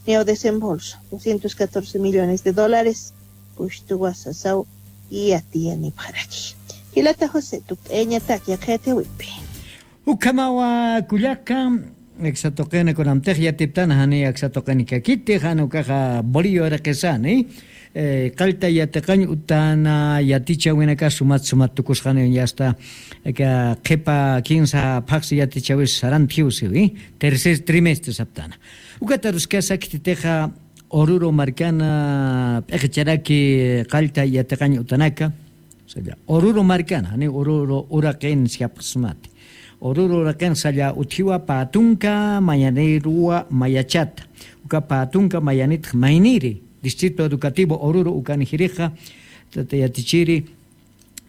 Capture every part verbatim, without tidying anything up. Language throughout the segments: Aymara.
niyaw desembolso doscientos catorce millones de dólares pushtuwa sasaw yatiyanipxaraki. Jilata José, tukt'ayañatak yaqha yatiyawipi. Ukhamawa kullaka, aksa tuqina kunamtix yatiptana jani aksa tuqini kakiti, jan ukaxa Bolillo uraqisani, eh, qallta yatiqañ utana yatichäwinaka sumat sumat tukusxani, ya está, aka qhipa kinsa phaxsi yatichäwis saranti jiwsiwi, tercer trimestre saptana. Ukat aruskasa khititixa Oruro markana p'iqicharaki qallta yatiqañ utanaka, salla Oruro markana, jani Oruro uraqin siapxsmati. Oruro uraqin salla utjiwa pä tunka mayanïruwa mayachata. Uka pä tunka mayanitx mayniri, Distrito Educativo Oruro ukan jirixa, tata yatichiri,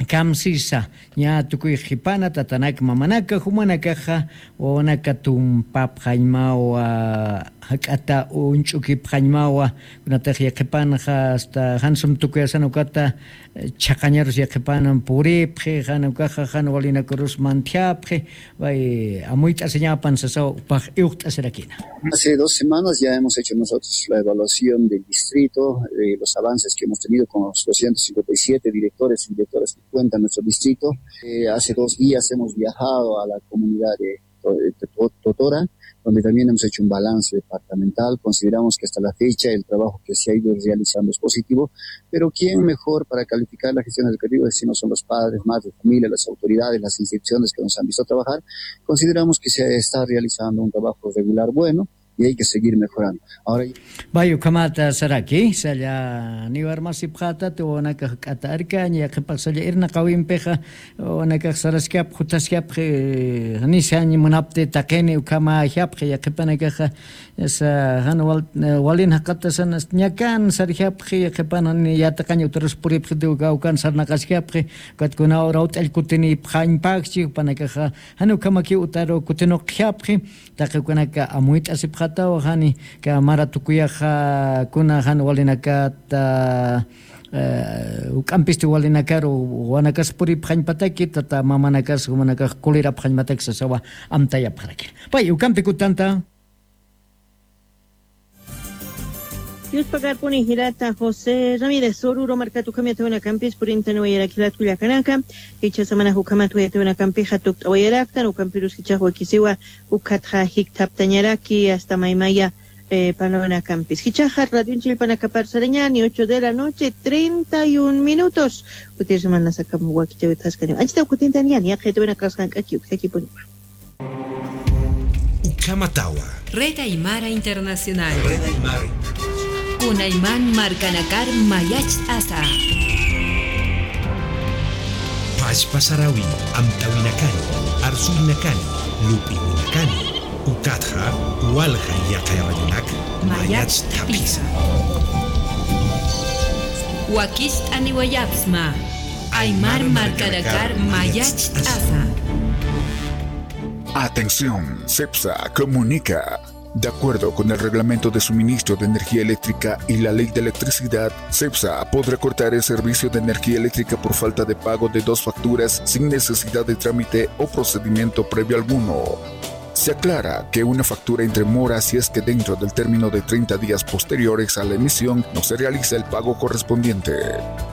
kamsisa, ña tukuy qhipana, tatanak mamanaka, jumanakaxa, wawanaka tumpapxañmawa, jak'ata uñch'ukipxañmawa, kunatix yaqhipanxa, hasta jan sum tukuyasan ukata, eh, chhaqañarus yaqhipan puripxi, jan ukaxa, jan walinakarus mantjapxi, way, amuyt'asiñapan sasaw, upax iwxt'asirakina. Hace dos semanas ya hemos hecho nosotros la evaluación del distrito, eh, los avances que hemos tenido con los doscientos cincuenta y siete directores y directoras que cuenta nuestro distrito. Eh, hace dos días hemos viajado a la comunidad de To-, de To-, Totora, donde también hemos hecho un balance departamental. Consideramos que hasta la fecha el trabajo que se ha ido realizando es positivo, pero ¿quién mejor para calificar la gestión educativa si no son los padres, madres de familia, las autoridades, las instituciones que nos han visto trabajar? Consideramos que se está realizando un trabajo regular bueno y hay que seguir mejorando. Ahora Vay, ukhamata saraki, salla niwarmasipxätati, wawanakax k'ata arkaña, yaqhipax salla irnaqäwimpixa, wawanakax saraskapxi, juthaskapxi, nisañ munapti taqini, ukhamäjapxi, yaqhipanakaxa, sa, jan wal-, walin jaqatasan, ñakan sarjapxi, yaqhipan jan yatiqañ utarus puripxiti, uka, ukan sarnaqaskapxi, ukat kuna ura ut'all kutinipxañpaxchi, jupanakaxa, jan ukhamaki utaru kutinuqjapxi, taqi ukanaka amuyt'asipxataw, jani, ka mara tukuyaxa, kuna jan walinakata, eh, uk'ampisti walinakaru, wanakas puripxañpataki, tata mamanakas, jumanakax kulirapxañpataki sasawa amtayapxaraki. Pay, ukampi kutanta. Dios pagarpuni jilata José Ramírez, Oruro markat ukham yatawinakampis purintaniwayarak jilat kullakanaka, jichha samana ukhamat yatawinakampixa tukt'awayaraktan, ukampirus jichhax wakisiwa, ukhatxa jikthaptañaraki, hasta maymaya, eh, parlawinakampis. Jichhaxa radioñ chillpanakapar sarañani, ocho de la noche, treinta y un minutos. Kutir semana sakam wakichawit jaskani. Anchita kutintan yan, yaqha yatawinakax jank'aki, ukhakipuniwa. Ukhamatawa. Red Aymara Internacional. Red Aymara. Kunayman markanakar mayacht'asa. Pachpa sarawin, amtawinakani, arsuynakani, lup'iwinakani, ukatxa, walja yaqha radionak, mayacht'apisa. Mayacht'apisa. Wakicht'aniwayapxsma. Aymar markanakar mayacht'asa. Atención, CEPSA comunica. De acuerdo con el Reglamento de Suministro de Energía Eléctrica y la Ley de Electricidad, CEPSA podrá cortar el servicio de energía eléctrica por falta de pago de dos facturas sin necesidad de trámite o procedimiento previo alguno. Se aclara que una factura entra en mora si es que dentro del término de treinta días posteriores a la emisión no se realiza el pago correspondiente.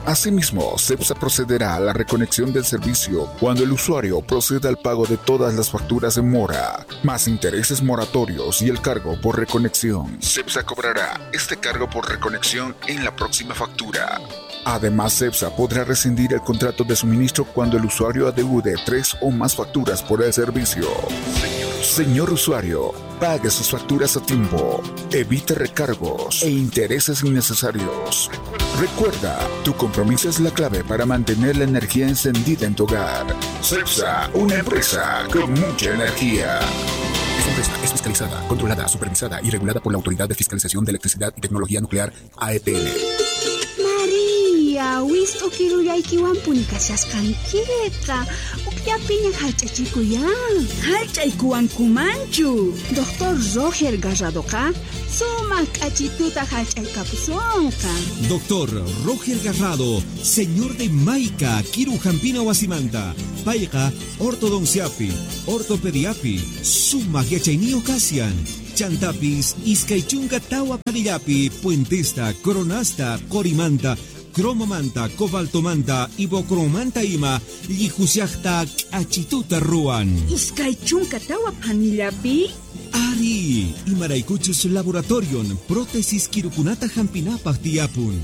Asimismo, CEPSA procederá a la reconexión del servicio cuando el usuario proceda al pago de todas las facturas en mora, más intereses moratorios y el cargo por reconexión. CEPSA cobrará este cargo por reconexión en la próxima factura. Además, CEPSA podrá rescindir el contrato de suministro cuando el usuario adeude tres o más facturas por el servicio. Señor usuario, pague sus facturas a tiempo. Evite recargos e intereses innecesarios. Recuerda, tu compromiso es la clave para mantener la energía encendida en tu hogar. CEPSA, una empresa con mucha energía. Esta empresa es fiscalizada, controlada, supervisada y regulada por la Autoridad de Fiscalización de Electricidad y Tecnología Nuclear, A E T N. María, wist'u kirullaykiwampuni kashasqankiqa. Ukllapiña jallch'achikuyá. Jallch'aykuwankumanchu. Doctor Roger Garradoqa sumaq k'achituta jallch'aykapusunqa. Doctor Roger Garrado, señor de Maica, kiru jampina wasimanta. Payqa ortodonciapi, ortopediapi sumaq yachayniyuq kasyan. Chantapis iskay chunka tawa phanillapi puentesta, coronasta, qorimanta, cromomanta, cobaltomanta, ibocromanta ima llijusyaqta k'achituta ruwan. Iskay chunka tawa phanillapi? Ari, imaraykuchus laboratorion prótesis kirukunata jampinapax tiyapun.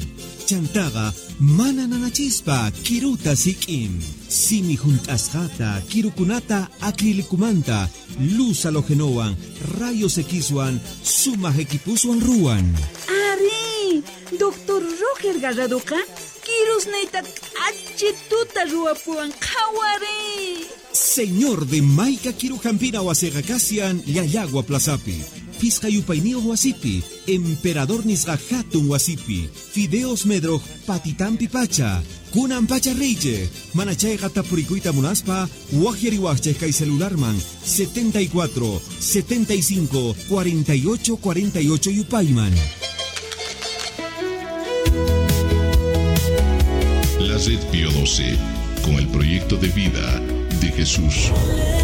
Chantaqa mana nanachispa kiruta sik'im. Simi junt'asqata, kirukunata acrílicomanta, luz halógenowan, rayos X-wan, sumax equiposwan ruwan. Ari, doctor Roger Garradoqa kirusnayta k'achituta ruwapuwan, qhawari. Señor de Mayka kiru jampina wasiqa kasyan Llallagua plazapi, phisqa yupayniyoq wasipi, Emperador nisqa jatun wasipi, Fideos Medroq patitampi pacha. Kunan pacha riychix, mana chayqa tapurikuyta munaspa, waqyariwaqchix kay celularman, setenta y cuatro, setenta y cinco, cuarenta y ocho, cuarenta y ocho yupayman. La Red Pío doce, con el proyecto de vida de Jesús.